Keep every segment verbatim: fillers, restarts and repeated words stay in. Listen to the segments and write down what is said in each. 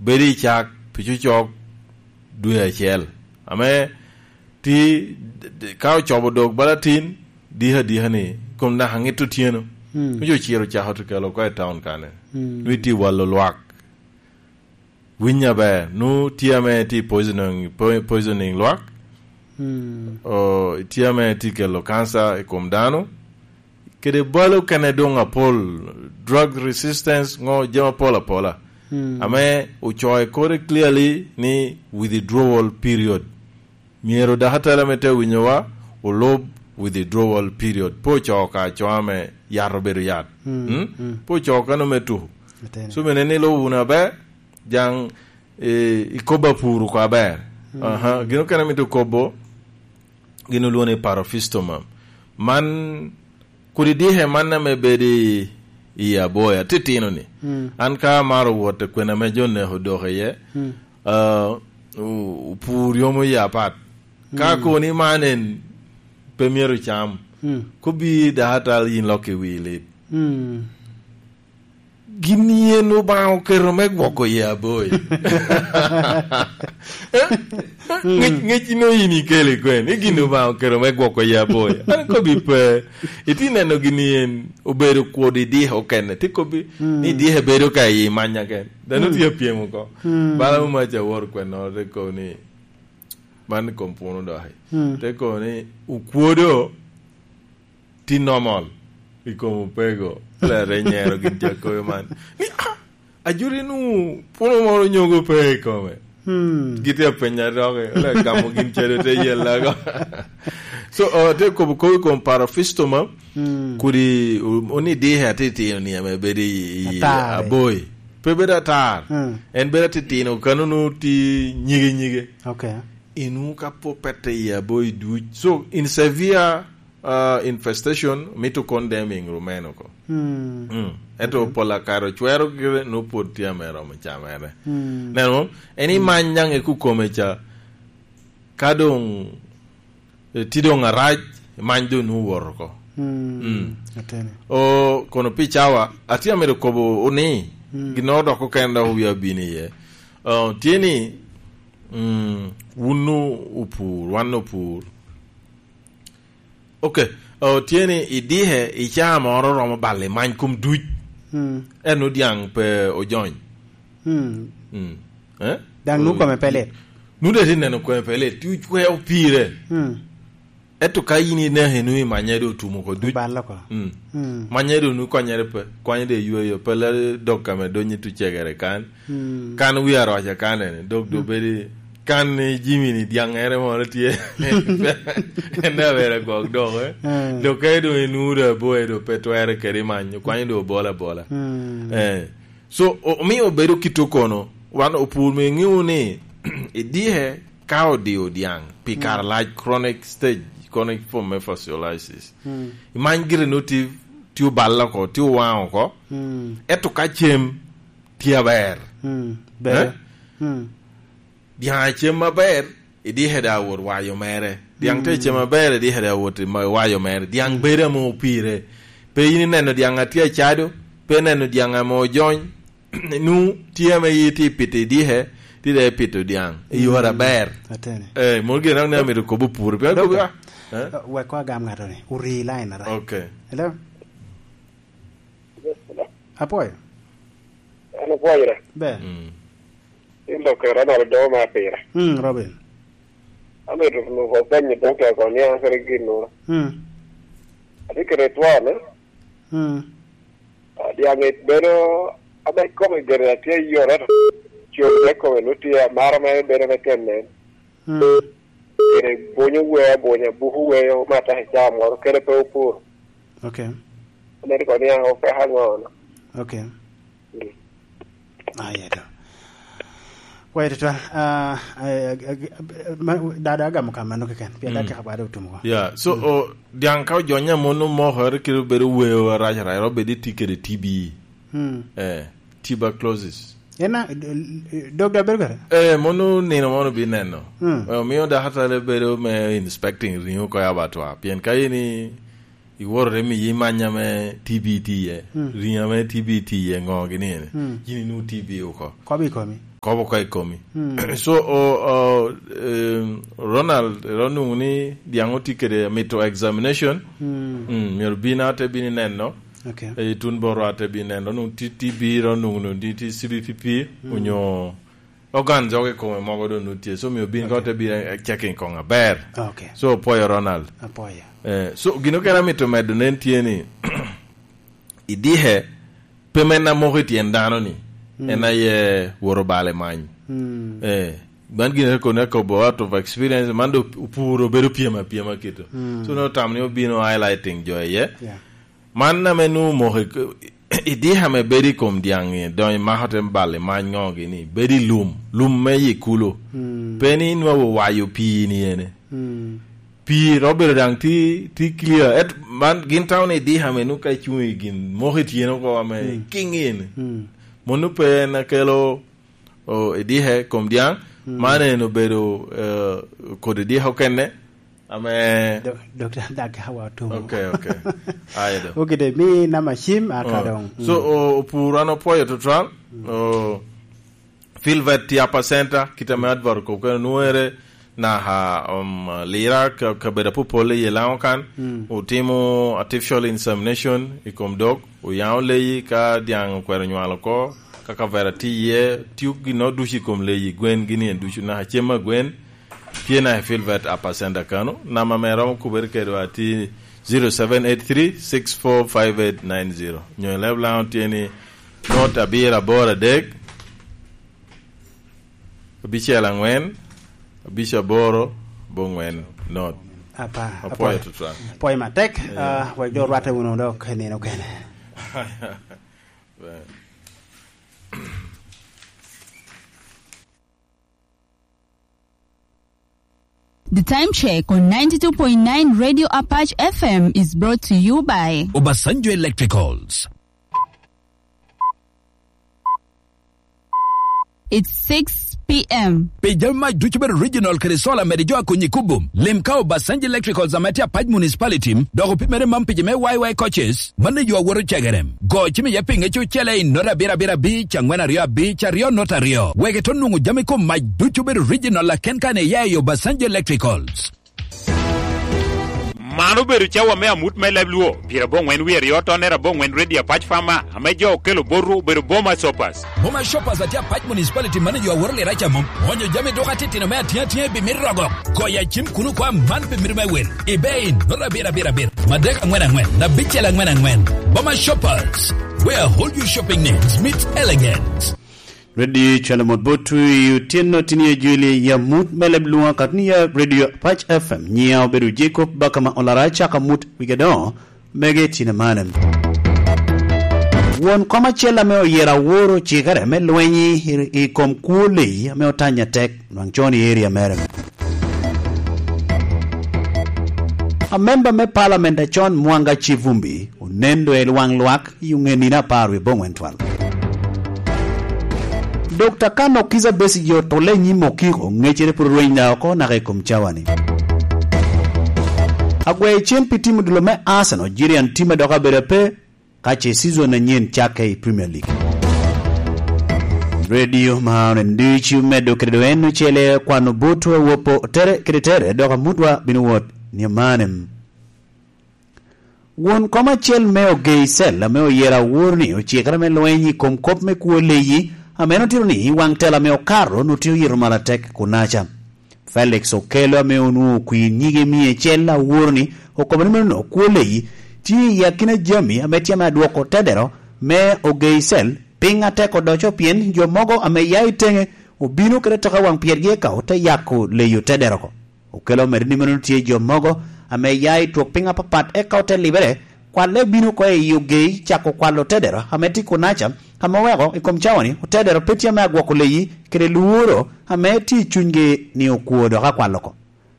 bedo i cak pi cocok dwe acel. Ame ti, ka ocobo dok bala tin, dika dika ni, kom naka ŋit otyeno. Mm. Onyo ociro cako to kelo oko i taun kane. Mm. Nwe ti walo lwak. Winy aber, nu tye ame ti poisoning, po-, poisoning lwak. Mm. O, tye ame ti kelo kansa i kom dano. Kede balo kene doŋ apol, drug resistance, ŋo, jami apol apola. Mm. Ame ocoyo kore clearly ni withdrawal period. Myero dakatari ame te winyowa olub withdrawal period. Pe ocoo ka acoo ame yat obedo yat. Mm, mm. Pe ocoo kano me tuko. Atene. So mene ni lubo wunu aber, jaŋ, eh, ikobo apur oko aber. Mm. Aha, gin okene mito kobo, gin olwongo ni parafistoma. Man kodi dike man ame bedo i, i aboya, titino ni. Mm. An ka amaro wot i kwena ame jo neko dok iye, mm, ah, o-, opur yomo ya apat. Ka, mm, koni man en pe myero cam, mm, kobi dakatari yin lok i wi lit. Mm. Gin yen Obaŋa oketo me gwoko i aboya. Eh? Mm. Ŋec, ŋec ino yin ikelo i kwen, i gin Obaŋa oketo me gwoko i aboya. An kobi pe, iti neno gin yen obedo kwod i dike okene, ti kobi, mm, ni dike bedo ka i manya ken. Dano, mm, tye apyem oko. Mm. Bala muma ca woro kwennoro te kobo ni, man i kom puno doki. Mm. Te kobo ni, okwodo ti normal i kom opego. Lere nyero gin ca kobo man. Ni, ah, ajuri nu puno moro nyogo pe i kome. Hmm. Gitye apenya doki. Ole gamo gin cedo te yel lago. So, uh, te kobo kobo i kom parafistoma, hmm, kodi, uh, oni dike atitino ni ame bedo i, i atar, eh, aboyi. Pe bedo atar. Hmm. En bedo atitino, kano nu ti nyige nyige. Okay. Inu ka po pete i aboyi duc. So, in severe, uh, infestation, mito condemning rumeno ko. Hmm. Mm. Ento, okay, pol akare ocwero gire, nu pwod tye ame romo camere. Hmm. Neno, en, hmm, imany nyaŋ i kukome ca, ka doŋ, eh, ti doŋ arac, imany doŋ nu wot oko. Hmm. Mm. Atene. O, kono pi cawa, atye amito kobo ni, hmm, ginnoro dok okene dok wi abino iye. O, tye ni, mm, wun nu opur, wan opur. Ok, o, tye ni idike i caa moro romo bal i many kom duc. Hmm. En odiaŋ pe ojony. Hmm. Mm. Eh? Daŋ nu kome pe lit. Nu de ti neno kome pe lit, ti ocweo pire. Hmm. Ento ka yin ineke nu i manya do otum oko duc. Obal oko. Mm. Mm. Manya do nu konyere pe, kwanye de yweyo, pe le dok kame donye tu cegere kan. Mm. Kan wi aroca kan ene, dok do, mm, bedi kan ni Jimmy ni diaŋere moro tye. En da bere gwok dok, eh. Mm. Dok ka do inure aboye do pe twere kede manyo, kwanye do obola abola. Mm. Eh. So, o-, omio obedo kit okono, wan opur me ŋeo ni idike ka odio diaŋ pi kare, mm, lac, chronic stage, chronic form me fasciolitis. Mm. Imany gire no ti, ti oballe oko, ti owaŋ oko. Mm. Ento ka cem tye aber. Mm. Ber. Eh? Mm. Diaŋ acem aber, idike da awot wayo mere. Diaŋ te, mm, cem aber, idike da awot i ma-, wayo mere. Diaŋ, mm, bedo ame opire. Pe yin ineno diaŋ a tye acado, pe ineno diaŋ ame ojony. Nu tye ame yi tye pito idike, tye da ipito diaŋ. I yore, mm, aber. Atene. Eh, moro gire ni amito kobo pur. Pien, doctor, kobo, ah, eh? Uh, wek ko agam ŋato ni. Ori line ara. Okay. Hello? Yes, hello. Apwoyo. An apwoyora. Ber. Mm. In dok kera nalo domo me apira. Mm, Robin. Amito nuko penyo doctor ko ni an kede gin nuro. Mm. Ati kede twon, eh? Mm. Ah, diaŋ it bedo ame kome gire atye yore to. Cwod me kome nu tye amaro me bedo me tyen nen. Mm. Kede bunyo wee abunya, buku wee omata i caa moro, kede pe opuro. Okay. Omito kono ni an opeko aŋono. Okay. Mm. Ah, yeah, do. Wait, twal. Ah, eh, eh, eh, ma-, da, da agamo ka mano keken. Pien da, mm, kika bade otum ko. Yeah, so, mm, o, diaŋ ka ojonya mono moko, ere kite obedo weo arac arac, ero bedo iti kede T B. Mm. Eh, tuberculosis. En a, d-, d-, dog da bedo kede? Eh, mono nino mono bineno. Mm. Eh, omio dakatari bedo me inspecting ringo oko i abattoir. Pien ka in i-, iworo te miyi manya me T B tye iye, mm, ringo ame T B tye iye, ŋo gini ene? Mm. Yin inwoŋo T B oko. Kobo i komi? Kobo ka i komi. Hmm. So, o, o, em, Ronald, ero nwoŋo ni diaŋ otye kede mito examination. Hmm. Mm, myero bin ate bin ineno. Okay. E, itun boro ate bin ineno. Nwoŋo ti, ti biro nwoŋo ni ti, ti C B P P, hmm, onyo ogan jok i kome mogo doŋ nwoŋo tye. So, myero bin ka, okay, ote bin, eh, checking koŋ aber. Okay. So, opwoyo Ronald. Apwoyo. Eh, so, gino kere amito medo nen tye ni, idike, pe men amoko i tyen dano ni, mm, en aye woro bal i many. Mm. Eh, man gin eko ne kobo out of experience, man do opuro bedo pyem apyema kito. Mm. So ne otamo ni obino highlighting jo iye. Yeah. Man ame nwoŋo omoko i, idike ame bedo i kom dyaŋ-ŋi, doŋ imako te bal i many ŋo gini, bedo i lum, lum me i kulo. Mm. Pe ni inwoŋo wayo pii ni ene. Mm. Pii ro bedo daŋ ti, ti clear. Et man gin tamo ni idika ame nwoŋo ka icuŋ i gin moko i tyeno oko ame, mm, kiŋ in. Mm. Mano pe en akelo, o, idika i kom dyaŋ. Mm. Man en obedo, eh, kodi idika okene ame Dok-, Dokta Dak Hawa Otumo. Okay, okay. Aye do. Okay, de, mi nama cim, aka, oh, doŋ. So, mm, o, opur an opwoyo tutwal. Mm. O, Filbert tye Upper Center, kit ame advert okobo kene, onwoŋere naka, um, Lira, ka-, kabedo apopol i Laŋo kan, mm, otimo artificial insemination i kom dog, oyaŋo leyi ka dyaŋ okwero nywalo oko, ka kavera tye iye, tio ginnoro ducu i kom leyi, gwen gini en ducu, naka cem a gwen, tye naka i Filbert Upper Center kano. Namba ame romo kubere kedwa tye zero seven eight three six four five eight nine zero. Nyo i leb Laŋo tye ni not abiro aboro adek, abicel aŋwen, abic aboro, bo ŋwen, not. Apa, apwoyo tutwal. Apwoyo matek, yeah, ah, wek jo rwatte wunu dok nino kene. Right. The time check on ninety-two point nine Radio Apache F M is brought to you by Obasanjo Electricals. It's six p.m. Pi jami mac ducu bedo original kede solar mede jo a konyi kubo, lim ka Obasanjo Electricals ame tye Apac Municipality, dok opimere man pi jo me Y Y coaches, mano yo a woto cegere. Go cim iye pi ŋec ocele i nota abiro abiro abic, angwen aryo abic, aryo nota aryo. Wek ito nwoŋo jami kom mac ducu bedo original aken kan iya i Obasanjo Electricals. Man obedo cawa me amut me leb Luo, pyerabongwen wie aryo tonnere abongwen Radio Apac Farmer, ame jo okelo botwu obedo Boma Shoppers. Boma Shoppers atye Apac Municipality manager aworo lira ca mom. Onyo jami duka titino me atye atye bi mito rogo. Goyo acim kuno kwa man pi mito me wel. Ibe in, nota abiro abiro abiro, madek angwen angwen, abicel angwen angwen. Boma Shoppers, where all your shopping needs meet elegance. Redio Calamot Botwi otyeno tini a juli ya mut me leb luŋa kat ni ya Redio Apac F M. Nyiya obedo Jacob Bakama Olara, caka mut wige doŋo mege tine mane. Won kom acel ame oyero aworo cikere me lweny i, i kom kwo leyi ame otanya tek nwaŋ con i area mere. Amemba me Parliament acon Mwanga Kivumbi onen do i lwaŋ lwak i oŋe nino apar wie bongwen twal. Dokta Kano Kizza Besigye otulle i nyim okiko, ŋecere pwod orweny da oko naka i kom cawani. Agweyo cen pi tim odilo me Arsenal, Jirian tim a dok abedo ape, ka ce season anyen cakke i Premier League. Radio ma oneno ducu medo kede doŋ en ocele kwano botwa wopo tere kede tere, dok amutwa bino wot ni amanem. Won kom acel me Ogei Cell ame oyero awor ni ocikere me lweny i kom kop me kwo leyi, ame en otito ni waŋ tela ame okato notye oyito malo atek kunaca. Felix Okello ame onwoŋo kwir nyige mia acel awor ni okobo ni meno kwo leyi tye i akina jami ame tye ame adwoko tedero me Ogei Cell piny atek odoco, pien jo mogo ame ya i teŋe obino kede toka waŋ pyergi eka ote yako leyi otedero oko. Okello omedde ni meno tye jo mogo ame ya i twok piny apapat eka ote libere, kwalle obino oko i Ogei cako kwalo otedero ame tye kunaca, ame oweko i kom cawani otedero pe tye ame agwoko leyi kede lworo ame tye i cunygi ni okwo dok akwalo oko.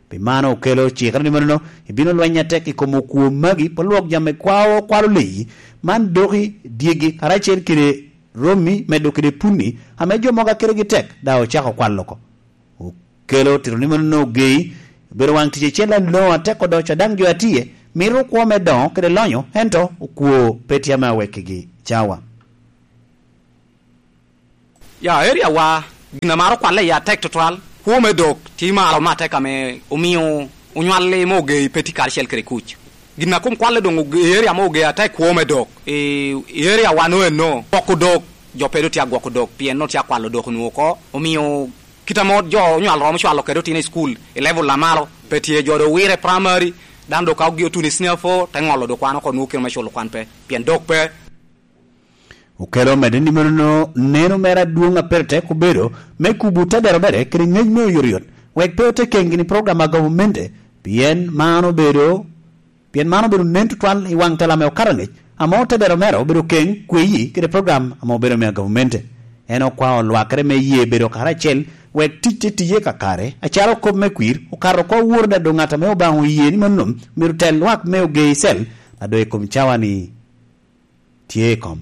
Pi mano Okello cikere ni menono ibino lweny atek i kom okwo magi, pwod lwok jami kwao kwalo leyi, man doki dyegi karacel kede romi medo kede punni ame jo mogo a kitegi tek daŋ ocako kwalo oko. Okello otito ni mano nwoŋo Ogei obedo waŋ tic acel aloŋo atek odoco, daŋ jo a tye mito kwo me doŋo kede lonyo, ento okwo pe tye ame awekkigi cawa. Ya, area wa, Gin a maro kwalle i atek tutwal, kwo me dok tye malo me atek ame omio onywalli me Ogei pe tye karacel kede kuc. Gin a kom kwalle doŋ Ogei, area me Ogei atek, kwo me dok. I, i area wan oeno, gwoko dok, jo pe doŋ tye agwoko dok, pien nongo tye akwalo dok onwoŋo oko, omio kit ame jo onywal romo cwalo kede otino i cukul i level a malo, pe tye. Jo doŋ owire i primary, dano doŋ ka ogi otuno i senior four, te ŋolo doŋ kwan oko, nwoŋo kite me culo kwan pe, pien dok pe. Okelo omedde ni meno neno mere adwoŋ a pire tek obedo me kubo tedero mere kede ŋec me oyotoyot, wek pe ote keŋ gini program a gavumenti, pien man obedo, pien man obedo nen tutwal i waŋ tela ame okato angec, ame otedero mere obedo keŋ kweyi kede program ame obedo me gavumenti. En okwao lwakere me ye bedo karacel, wek tic te tiye kakare, acalo kop me kwir okato oko awor, daŋ doŋ ŋat ame Obaŋa oye ni mano myero tel lwak me Ogei cel, a doŋ i kom cawa-ni tye i kom.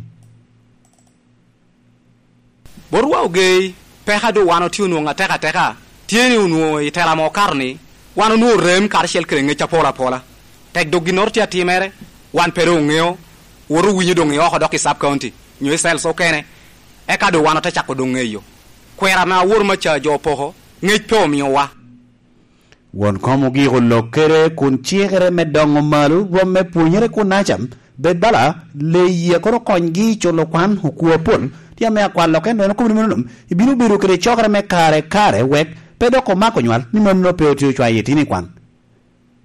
Botwa Ogei, peko a doŋ wan otye onwoŋo atek ateka, tye ni onwoŋo i tela ame okato-ni, wan onwoŋo rem karacel kede ŋec apol apola. Tek doŋ ginnoro tye atimere, wan pe doŋ oŋeo, wot owinyo doŋ i oko dok i sub county, nyo i cells okene, eka doŋ wan ote cako doŋ ŋeyo. Kwero ame awor maca jo opoko, ŋec pe omiowa. Won kom ogiko lokere kun cikere me doŋo malo rwom me pwonyere kun acam, bed bala le yie kono konygi i culo kwan okwo apol, tye ame akwalo keno en okobo ni meno nom, ibino bedo kede cokere me kare kare wek pe dok omako nywal ni mano pe otye ocwayo itino i kwan.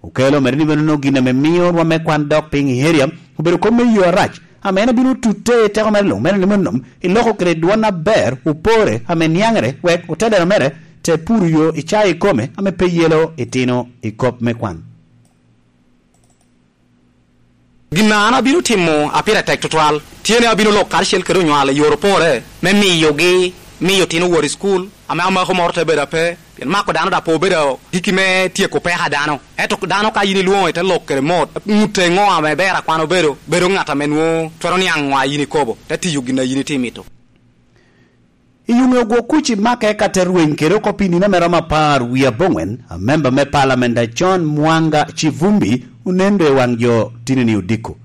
Okelo omedde ni meno gin ame mio rwom me kwan dok piny i area obedo kop me yo arac, ame en obino tutte i teko mere luŋ, meno ni meno i loko kede dwon aber opore ame niaŋere, wek otedero mere te puro yo i cawa ikome ame pe yelo itino i kop me kwan. Gin a an abino timo a pire tek tutwal, tye ni abino lok karacel kede onywal i yor opore me miyogi, miyo tino wot i cukul, ame amako moro te bedo ape, pien mako dano daŋ pe obedo giki me tyeko peko a dano. Ento dano ka yin ilwoŋo ite lok kede mot, ŋutte ŋo ame ber akwano bedo, bedo ŋat ame nwoŋo twero niaŋ ŋo a yin ikobo, te tiyo gin a yin itye imito. I yuŋe ogwo kuc i make ka te rweny kede oko pi nino ame romo apar wie aboŋwen, amemba me palamenda John Mwanga Kivumbi onen do i waŋ jo tinini odiko.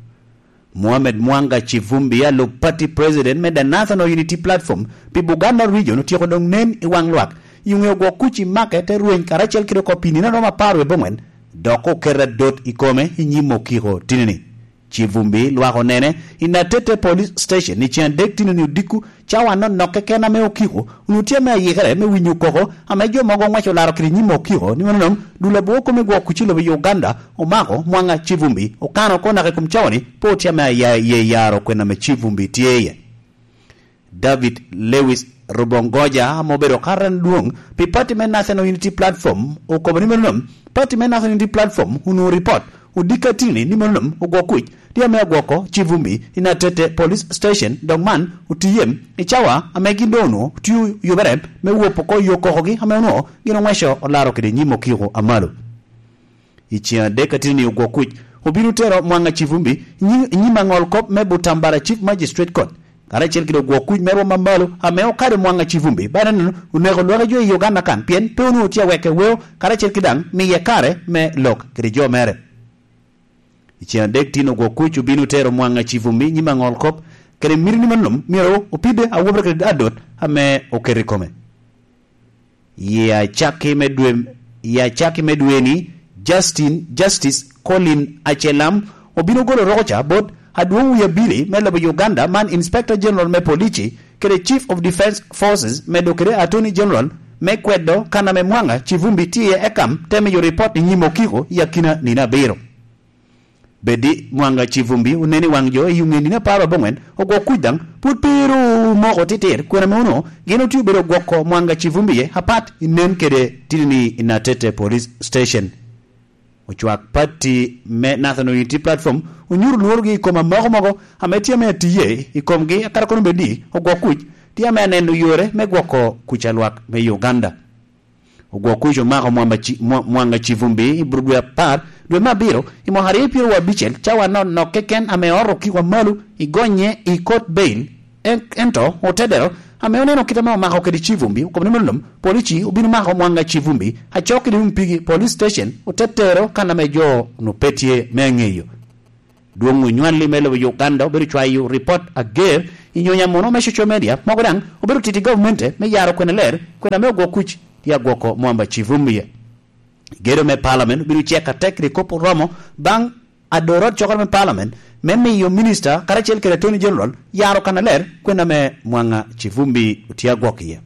Mohamed Mwanga Kivumbi, alup party president me The National Unity Platform pi Buganda Region, otyeko doŋ nen i waŋ lwak i yuŋe ogwo kuc i make te rweny karacel kede oko pi nino ame romo apar wie aboŋwen, dok oketo adot i kome i nyim okiko tinini. Kivumbi lwak onene i Natete Police Station i cen adek tinini odiko, cawa nonok keken ame okiko onwoŋo tye ame ayikere me winyo koko ame jo mogo oŋweco olaro kede nyim okiko ni mano dul abwor kome gwok kuc i lobo i Uganda omako Mwanga Kivumbi, okano oko naka i kom cawa-ni pe otye ame aya iye yaro kwena ame Kivumbi tye iye. David Lewis Rubongoja, ame obedo karan dwoŋ pi pati me National Unity Platform, okobo ni meno nom pati me National Unity Platform onwoŋo ripot odiko atini ni meno nom ogwok kuc tye ame agwoko Kivumbi i Natete Police Station, dok man otiyem i cawa ame gin doŋ onwoŋo tye oyubere me wop oko yo kokogi ame onwoŋo gin oŋweco olaro kede nyim okiko amalo. I cen adek atini ogwok kuc obino tero Mwanga Kivumbi i nyim, i nyim aŋol kop me Butambala Chief Magistrate Court, karacel kede ogwok kuc me rwom amalo ame okado Mwanga Kivumbi. Bene neno oneko lwaki jo i Uganda kan, pien pe onwoŋo tye aweke weo, karacel ki daŋ miye kare me lok kede jo mere. I cen adek tin ogwok kuc obino tero Mwanga Kivumbi i nyim aŋol kop, kede miti ni mano myero opide awobere kede adot ame oketo i kome. I acakki me dwe, i acakki me dwe-ni, Justin, Justice Colin Achelam obino golo rokoca bot adwoŋ wie abili me lobo Uganda, man Inspector General me Polici kede Chief of Defence Forces, medo kede Attorney General, me kwedo kan ame Mwanga Kivumbi tye iye, eka te miyo ripot i nyim okiko i akina nino abiro. Bed ni Mwanga Kivumbi onen i waŋ jo i yuŋe nino apar aboŋwen, ogwok kuc daŋ pwod pe ru omoko titir, kwena me onwoŋo gin otye obedo gwoko Mwanga Kivumbi iye apat i nen kede titini i Natete Police Station. Ocwak pati me National Unity Platform onyuto lworogi i kom amoko mogo ame tye ame atiye i komgi, akato kono bed ni ogwok kuc tye ame aneno yore me gwoko kuc a lwak me Uganda. Ogwok kuc omako Mwamba Ci-, Mwa-, Mwanga Kivumbi i bur dwe apar, dwe me abiro, i mwaka aryo pyeraryo abicel, cawa nonok keken ame oto okiko amalo i gonye i kot bail. En-, ento otedero, ame oneno kit ame omako kede Kivumbi, okobo ni mano lom, polici obino mako Mwanga Kivumbi, acok kede Mpigi Police Station, ote tero kan ame jo onwoŋo pe tye me ŋeyo. Dwoŋ onywalli me lobo Uganda obedo cwayo ripot ager i nyonyo amuno me social media, mogo daŋ obedo titi gavumenti me yaro kwena ler, kwena me ogwok kuc i agwoko Mwamba Kivumbi. Gedo me Parliament obino cek atek kede kop oromo baŋ adorot cokere me Parliament me miyo Minista karacel kede Attorney General yaro kannaler kwena me Mwanga Kivumbi otye agwok iye.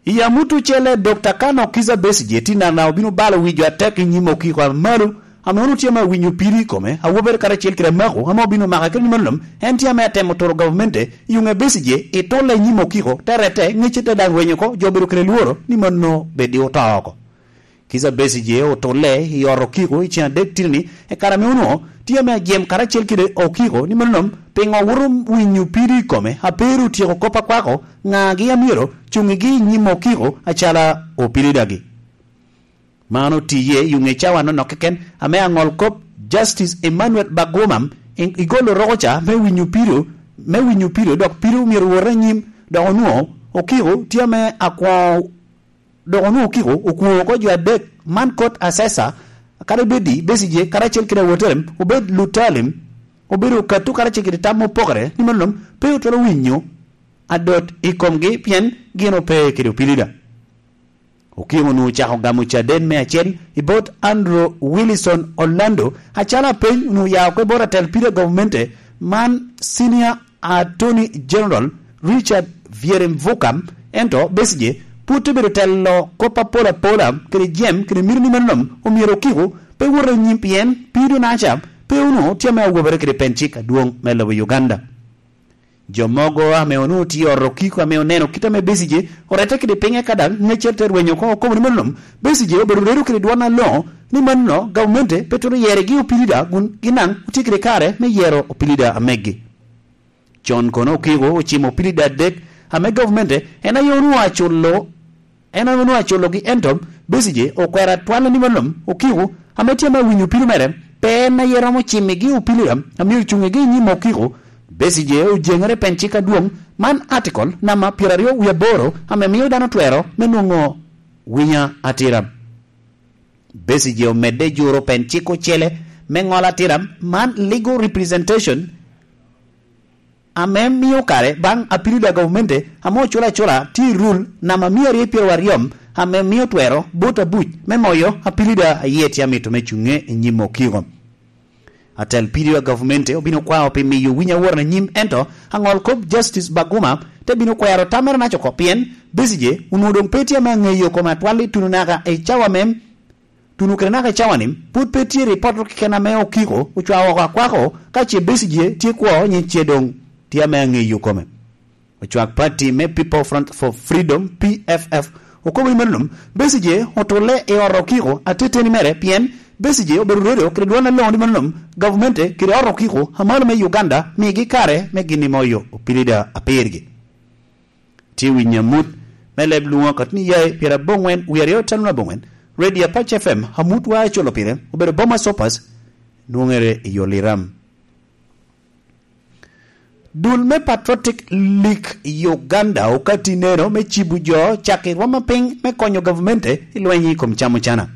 I amut ocele, Dokta Kano Kizza Besigye tye nana obino balo wi jo atek i nyim okiko a malo, ame onwoŋo tye ame awinyo piri i kome, awobere karacel kede amako, ame obino maka kede ni malom, en tye ame atemo turo gavumenti i oŋe Besigye i tulle i nyim okiko, te rette, ŋecce te daŋ rwenyo oko, jo obedo kede lworo ni mano bed i oto oko. Kizza Besigye otulle i ot okiko i ceŋ adek titini, i kare ame onwoŋo tye ame ajem karacel kede okiko ni malom, piŋo woto winyo piri i kome, a pe ru otyeko kop akwako, ŋagi a myero cuŋigi i nyim okiko acala opilidagi. Man otiye i oŋe cawa nonok keken, ame aŋol kop Justice Emmanuel Baguma i, igolo roko ca me winyo pido, me winyo pido, dok pido myero wot anyim, dok onwoŋo okiko tye ame akwoŋo, dok onwoŋo okiko okwoŋo oko jo adek, man court assessor, kadi bedi Besigye karacel kede awotere, obed lutalim, obedo okatto karacel kede tam opokere, ni malom pe otwero winyo adot i komgi, pien gin ope kede opilida. Okiko onwoŋo ocako gamo caden me acel i bot Andrew Wilson Orlando, acalo apeny onwoŋo oya oko i bot atel pire gavumenti man, Senior Attorney General Richard Byeremvuka, ento Besigye pwod te bedo telo kop apol apola kede jem kede mito ni malom omyero okiko pe wot anyim, pien pido naca pe onwoŋo tye ame awobere kede pen cik adwoŋ me lobo Uganda. Jo mogo ame onwoŋo tye i ot okiko ame oneno kit ame Besigye orette kede pinye ka daŋ ŋeccere te rwenyo oko, okobo ni mano lom Besigye obedo redo kede dwon aloŋo, ni mano gavumenti pe twero yeregi opilida, kun gin daŋ otye kede kare me yero opilida amegi. Con kono okiko ocimo opilida adek ame gavumenti en aye onwoŋo aculo En ame onwoŋo aculogi, ento Besigye okwero atwal ni malom okiko ame tye ame awinyo pido mere, pe en aye romo cimigi opilira ame ocuŋigi i nyim okiko. Besigye ojeŋere pen cik adwoŋ man, article namba pyeraryo wie aboro, ame mio dano twero me nwoŋo winya atira. Besigye omedde juro pen cik ocele me ŋolo atira man, legal representation, ame mio kare baŋ apilida gavumenti ame oculo acula tye i rul namba mia aryo pyeraryo aryo, ame mio twero bot abuc me moyo apilida a yie tye amito me cuŋe i nyim okiko. Atel pido a gavumenti obino kwao pi miyo winy aworo anyim, ento aŋol kop Justice Baguma te bino kwero tammere naca oko, pien Besigye onwoŋo doŋ pe tye ame aŋeyo kome atwal i tuno naka i cawa me Tuno kede naka i cawa-ni, pwod pe tye ripot keken ame okiko ocwao oko akwako, ka ce Besigye tye kwo, nyiŋ ce doŋ tye ame aŋeyo kome. Ocwak pati me People Front for Freedom, P F F, okobo ni mano lom Besigye otulle i ot okiko ateteni mere, pien Besigye obedo redo kede dwon aloŋo ni mano lom gavumenti kede ot okiko amalo me Uganda migi kare me gin i moyo opilida apirgi. Tye winyo amut me leb lwoŋo akatni yaye pyeraboŋwen wie aryo teno aboŋwen, Radio Apac F M, amut wa acolo pire obedo Boma Sopas, nwoŋere i yo Liram. Dul me Patriotic League Uganda okati neno me cibo jo cak i rwom apiny me konyo gavumenti i lweny i kom camo cana.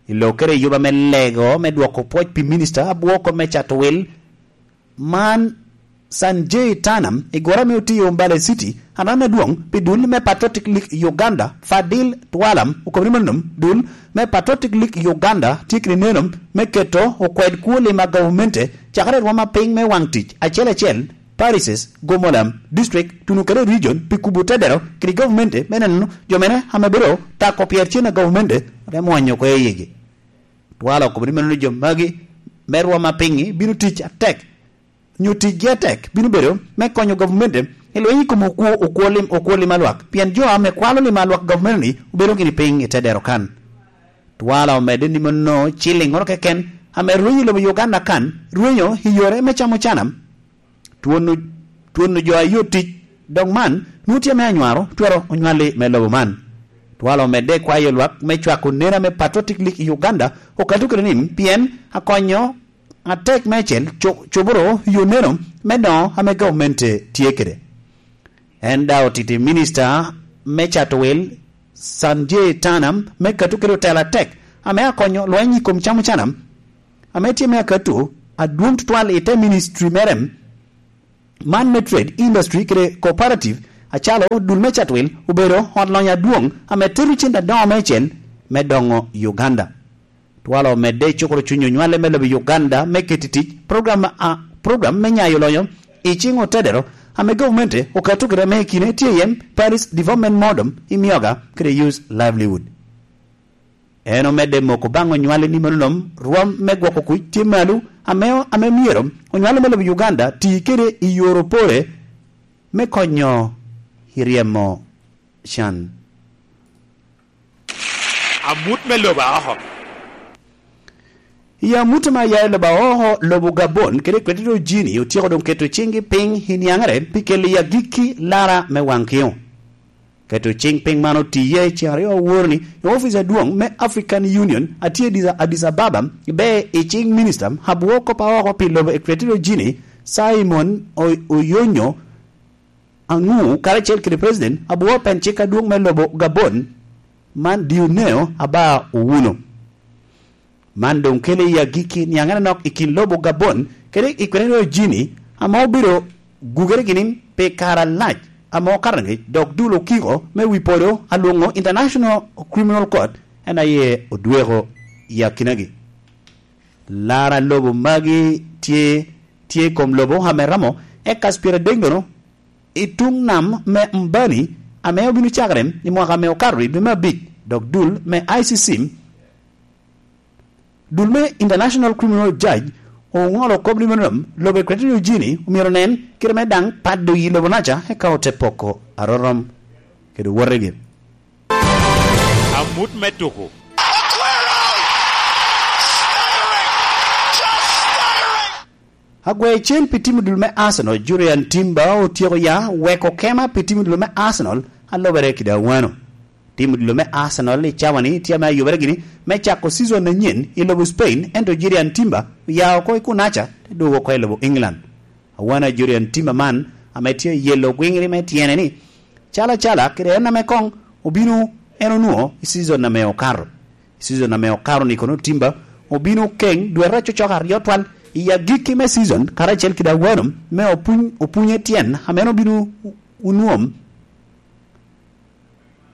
I lokere i yuba me lego me dwoko pwoc pi minista abwoko me cato wil, man Sanjay Tanam, i goro ame otiyo Mbale City, aran adwoŋ pi dul me Patriotic League Uganda, Fadil Twala, okobo ni mano dul me Patriotic League Uganda tye kede neno me keto okwed kwo lim a gavumenti cakere i rwom apiny me waŋ tic acel acel, parishes, gomolam, district, tuno kede region, pi kubo tedero kede gavumenti me neno jo mene ame bedo tako pyercen a gavumenti, te mwonyo oko i yigi. Twala okobo ni meno ni jo magi me rwom apiny bino tic atek, nyo ticgi atek bino bedo me konyo gavumenti i lweny i kom okwo, okwo lim, okwo lim a lwak, pien jo ame kwalo lim a lwak gavumenti-ni obedo gini piny i te dero kan. Twala omedde ni mano ciliŋŋoro keken ame rwenyo i lobo Uganda kan, rwenyo i yore me camo cana, twonno, twonno jo a yot tic, dok man nwoŋo tye ame anywaro twero onywalli me lobo man. Twala omedde kwayo lwak me cwako neno ame Patriotic League i Uganda okato kede ni, pien akonyo atek meicel co-, coboro yo neno me doŋo ame gavumenti tye kede. En daŋ otito i minista me cato wil, Sanjay Tanam, me kato kede otelo atek ame akonyo lweny i kom camo cana, ame tye me akato adwoŋ tutwal i te ministry mere, man me trade, industry kede cooperative, acalo dul me Chatwil obedo ot lony adwoŋ ame tero cente adoŋo meicel me doŋo Uganda. Twala omedde i cukoro cuny onywale me lobo Uganda me keto i tic program, a, program me nyayo lonyo i ciŋ otedero ame gavumenti okato kede ame i kine tye iye Paris Development Model i Myoga kede Youth Livelihood. En omedde moko baŋ onywale ni meno nom rwom me gwoko kuc tye malo ame, ame myero onywale me lobo Uganda ti kede i yore opore me konyo i ryemo can. Amut me lobo aoko. I amut ame aya i lobo aoko, lobo Gabon kede Equatorial Guinea otyeko doŋ keto ciŋgi piny i niaŋere pi kelo i agikki lara me waŋ kiŋo. Keto ciŋ piny man otiye ceŋ aryo aworo-ni i ofic adwoŋ me African Union a tye i Addis, Addis Ababa, ibe i ciŋ minista abwo kop aoko pi lobo Equatorial Guinea, Simon O-, Oyonyo Aŋu, karacel kede President abwo pen cik adwoŋ me lobo Gabon, man Dioneo Aba Owuno. Man doŋ kele i agikki niaŋere nok i kin lobo Gabon kede Equatorial Guinea, ame obedo gugere gini pi kare alac ame okato ngec, dok dul okiko me wi podo alwoŋo International Criminal Court en aye odweko i akinagi. Lara lobo magi tye, tye i kom lobo ame romo ekas pyeradek nono i tuŋ nam me Mbani, ame obino cakere i mwaka ame okato i dwe me abic, dok dul me I C C, dul me International Criminal Judge, oŋolo kop ni meno lobo Equatorial Guinea omyero onen kite me daŋ pado yi lobo naca, eka ote poko arorom kede wotegi. Amut me tuko. Agwecen pi tim odilo me Arsenal, Jurrien Timber otyeko ya weko kema pi tim odilo me Arsenal a lobere kede awano. Tim odilo me Arsenal i cawa-ni tye ame ayubere gini me cako cizon anyen i lobo Spain, ento Jurrien Timber oya oko i kunaca te dwogo oko i lobo England. Awano a Jurrien Timber man ame tye yelo gwiŋri me tyene ni, calo acala kede en ame koŋ obino en onwoŋo i cizon ame okato. I cizon ame okato-ni kono Timber obino keŋ dwete acocok aryo twal i agikki me cizon karacel kede awano me opuny, opunye tyen ame en obino onwoŋo,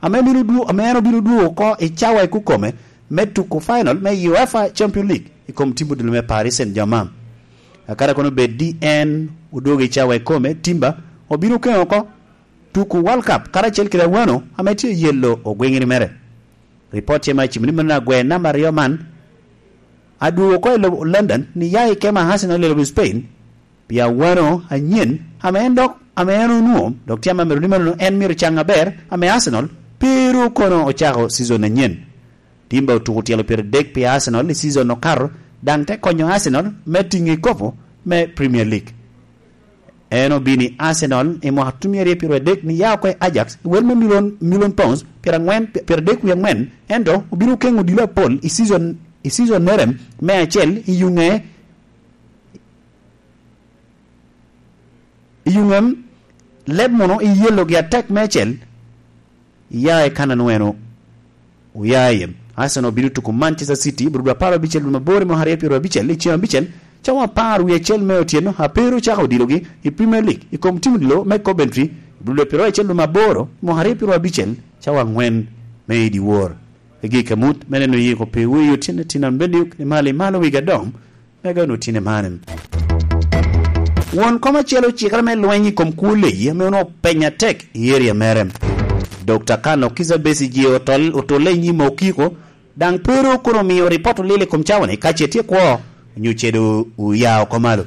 ame bino dwo-, ame en obino dwogo oko i cawa i kukome me tuko final me UEFA Champions League i kom tim odilo me Paris Saint-Germain. Akara kono bed di en odwogo i cawa i kome, Timber obino keŋ oko tuko World Cup karacel kede awano ame tye yelo ogwiŋri mere. Ripot tye ma cimo ni meno agwe namba aryo man adwogo oko i lobo London ni ya i kema Arsenal i lobo Spain pi awano anyen ame en dok, ame en onwoŋo, dok tye ame amito ni meno en myero caŋ aber ame Arsenal pe ru kono ocako cizon anyen. Timber otuko tyelo pyeradek pi Arsenal i cizon okato, daŋ te konyo Arsenal me tiŋo i kopo me Premier League. En obino i Arsenal i mwaka tutumia aryo pyeraryo adek ni ya oko i Ajax i wel me milion, milion pounds pyerangwen, pyeradek wie angwen, ento obino keŋo odilo apol i cizon, i cizonnere me acel i yuŋe, i yuŋe leb mono i yelogi atek meicel, iya i kan a nwoŋo en o-, oya iye. Arsenal obino tuko Manchester City i bur dwe apar abicel dwe mabor i mwaka aryo pyeraryo abicel i ceng abicel, cawa apar wie acel me otyeno, a pe ru ocako odilogi i Premier League i kom tim odilo me Coventry i bur dwe pyeraryo acel dwe maboro i mwaka aryo pyeraryo abicel, cawa angwen me i dyewor. I gik amut me neno yiko pi wi otyeno tin ambeddi i malo i malo wigi adoŋ, me gano tine mane. Won kom acel ocikere me lweny i kom kwo leyi ame onwoŋo openy atek i area mere. Dokta Kano Kizza Besigye otol-, otulle i nyim okiko, daŋ pe ru kono omio ripot olil i kom cawa-ni ka ce tye kwo onyo ce doŋ oya oko malo.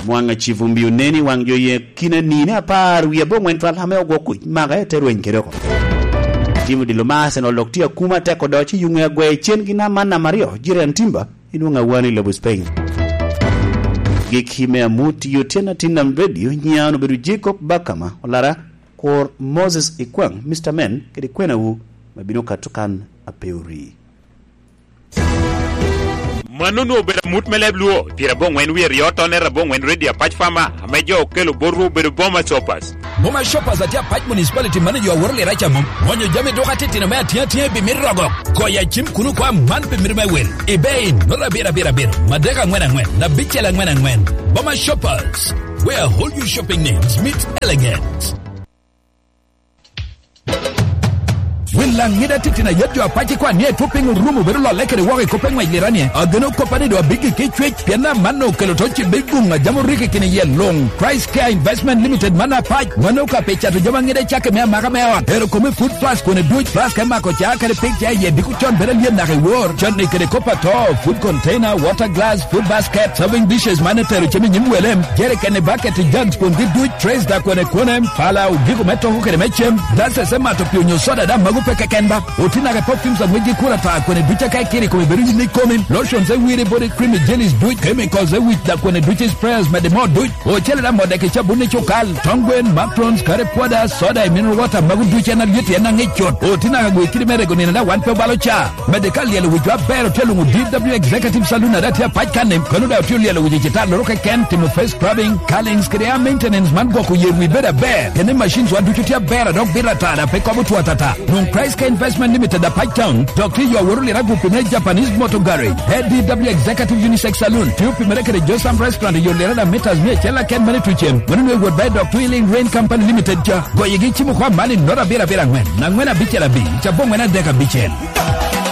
Mwaŋ Acivumbi oneni waŋ jo ye kina nine apar wie aboŋwen twal ame ogwo kuc maka te rweny kede oko. Tim odilo ma Arsenal dok tye akuma atek odoc i yuŋe agwe cen gi nam man nam aryo, Jirian Timber, i nwoŋo awano i lobo Spain. Gik me amut i otyeno atin nam redio, nyian obedo Jacob Bakama, olara kur Moses Ikwang, Mister Men, kede kwenawu, ma bino kato kan ape ori. Mano onwoŋo obedo amut me leb Luo, pyerabongwen wie ryo tone rabongwen redio Apac Fama, ame jo okelo botwu obedo Boma Sopas. Boma Shoppers atye apac municipality manager a woro lira ca mom. Mwonyo jami dok atitino me atye atye bi mito rogo. Koya cim kuno kwa man pi mito me wil. Ibe in, nota abiro abiro abiro, madek angwen angwen, abicel angwen angwen. Boma Shoppers, where all your shopping needs meet elegance. Wil laŋ ŋida tittin a yet jo apac ikwan ni etwo piny orumo bedo lolle kede woko i kop eŋwec lirani. Ageno koppa ni do abiggi ki cwec, pien amanno okelo to ci big guŋ a jam oriki kini yel luŋ. Christ Care Investment Limited man apac, wan okape cato jami aŋida i cakki me amaka me ot. Ero kome food flask kone duc, flask me mako ca kede pig ca iye diko con bedo alyet naka i wor. Cotni kede kop ato, food container, water glass, food basket, serving dishes man etero cem i nyim wele, jerikeni, bucket, jugs, kwongi duc, trays da kwene kwene, pala, odiko me toko kede me cem, glasses me mato pi onyo soda da mago pe keken ba. Oti naka perfumes a ŋwejgi kura ta kwene duc aka ikiri kome bedo yin ikomi, lotions e wiri body cream, jellies duc, chemicals e wic da kwene duc, sprayers mede mo duc. Ocele da modde ki cabun i cukal, tong gwen, macarons, curry powder, soda, i mineral water, mago duc en alyet en aŋic cut. Oti naka gwe kidi me rego nino da wan pe obalo ca. Mede ka lyel owicwa aber otye luŋo D W Executive Saloon a da tye apac kan-ni, kono da otye lyel owico citar loro keken, timo face scrubbing, curlings kede hair maintenance man gwoko yer wi bedo aber. Kene machines wa ducu tye aber a dok bito atara pe kobo two atata. Nwoŋ Christ Care Investment Limited a Pac Town, dok tye yo aworo lira gupi me Japanese Motor Garage, A D W Executive Unisex Saloon, tye opimere kede Josam Restaurant i yo lira da mitas mia acel aken mene tucen. Mano nwe wot ba i dok Twilling Rain Company Limited ca. Goyegi cimo kwa mani nota abiro abiro angwen, angwen abicel abic, cabo angwen adek abicel.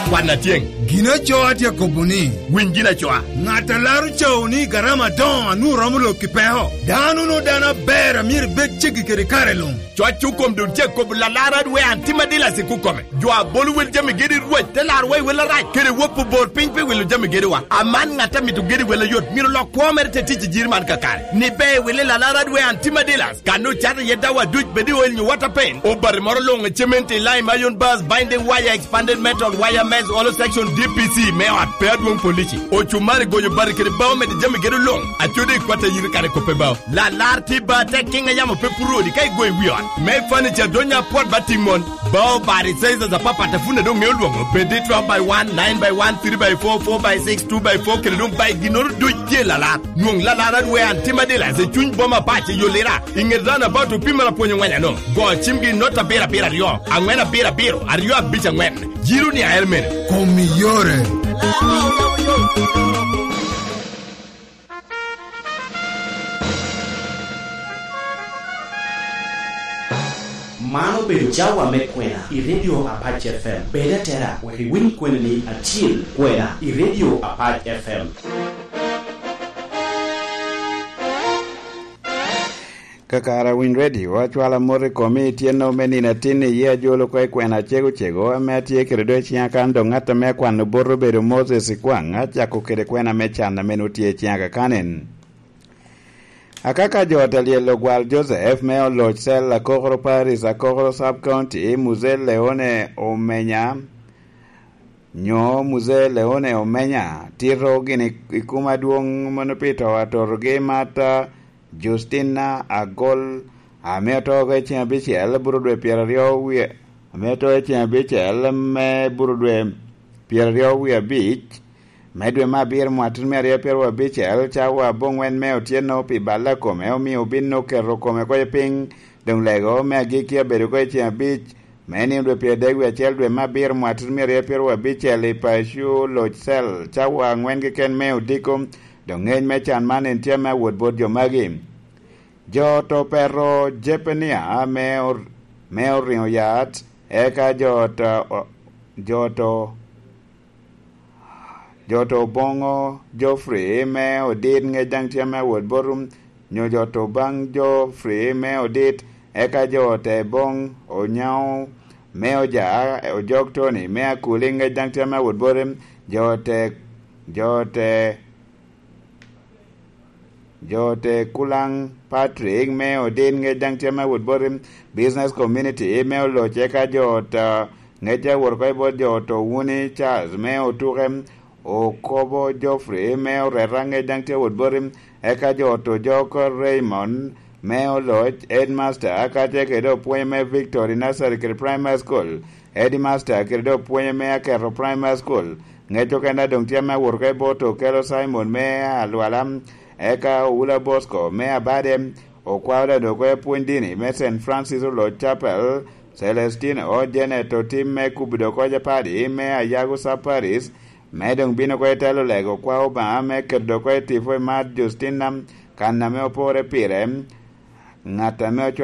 Kwan atyeŋ. Gin aco atye akobo ni, winy gin acoa. Ŋat a laro cawo ni garama adoŋo a nwoŋo romo lok i peko. Dano no dano aber a myero ibed ceggi kede kare luŋ. Coc okom dun ce kobo lalara dwe an tima dila si kukome. Jo a bolo wel jami gedi rwec te laro wa i wel arac. Kede wop obor piny pe wilo jami gedi wa. Aman ŋat a mito gedi wel ayot myero lok kwo mere te tic i jiri man kakare. Ni be wili lalara dwe an tima dila. Kan ocato iye dawa duc bed i oil nyo water paint. Obati moro luŋ i cement i lime iron bars, binding wire, expanded metal, wire mesh, hollow section, D P C me ot pe adwoŋ polisi. Ocumari goyo bati kede bao mede jami gedo luŋ. Acode i kwat ayiri kare kope bao. Lalar tye ba te kiŋ a yamo pe puro odi ka igoyo i wi ot. Me furniture donya apwot ba tiŋ mon. Bao bati sizes apapat a pwod doŋ ŋeo lwoŋo. Bed i twelve by one, nine by one, three by four, four by six, two by four kede doŋ by ginnoro duc tye lalar. Nwoŋ lalar adwe an tima dilas i cuny boma pac i Yolira. I ŋet roundabout opimere apwony ŋweny ano. Go cimgi i not abiro abiro aryo, aŋwen abiro abiro, aryo abic aŋwen. Jiro ni aer mene. Kom i yore. Man obedo cawa me kwena i Radio Apac F M. Bed atera wek iwiny kweni ni acil kwena i Radio Apac F M. Kakare Winy Radio, acwalo amot i komi i tyeno me nino atin iye ajolo oko i kwena acego cego ame atye kede do i ciŋa kan dok ŋat ame akwano bot obedo Moses Ikwaŋ, acako kede kwena me can ame nwoŋo tye i ciŋa kakanen. Akaka jo ot a lyel ogwal Joseph me oloc cel Akokoro Parish, Akokoro Sub County, Mzee Leone Omenya, nyo Mzee Leone Omenya, tito gini i kum adwoŋ mono pi to atotogi mata Justina Agol, ame oto oko i ceŋ abicel, buro dwe pyeraryo wie, ame oto i ceŋ abicel me buro dwe pyeraryo wie abic, me dwe me abiro mwattin me aryo pyeraryo abicel, cawa aboŋwen me otyeno pi balla kome, omio obin oketo kome oko i piny, doŋ lego me agikki abedo oko i ceŋ abic, me nino dwe pyeradek wie acel dwe me abiro mwattin me aryo pyeraryo abicel i paco loc cel, cawa aŋwen keken me odiko, doŋ ŋec me can man en tye me awot bot jo magi. Jo oto peto Jepenia me or-, me oriŋo yat, eka jo oto, o-, jo oto, jo oto boŋo Geoffrey me odit ŋec daŋ tye me awot bot, nyo jo oto baŋ Geoffrey me odit, eka jo ote boŋ Onyaŋo me oja, ojok Tony me Akuli ŋec daŋ tye me awot bot, jo ote, jo ote Jo te Kulaŋ Patrick me Odit ŋec daŋ tye me wot bot i Business Community me Oloc, eka jo ta ŋec awot oko i bot jo to Wuni Charles me Otuke, Okobo Geoffrey me Oreta ŋec daŋ tye wot bot i, eka jo to Joko Raymond me Oloc, Headmaster, aka tye kede opwonye me Victory Nursery kede Primary School, Headmaster kede opwonye me Aketo Primary School, ŋec okene doŋ tye me awot oko i bot Okello Simon me Alwala, eka Oula Bosco me Abade, Okwao daŋ dok oko i pwony dini me Saint Francis Lord Chapel, Celestine O. Janet otim me kubo dok oko Japadi me Ayago Saparis, me doŋ bino oko i telo lego okwao Obaŋa me keto dok oko i tipo i mar Justina, kan ame opore pire, ŋat ame ocwalo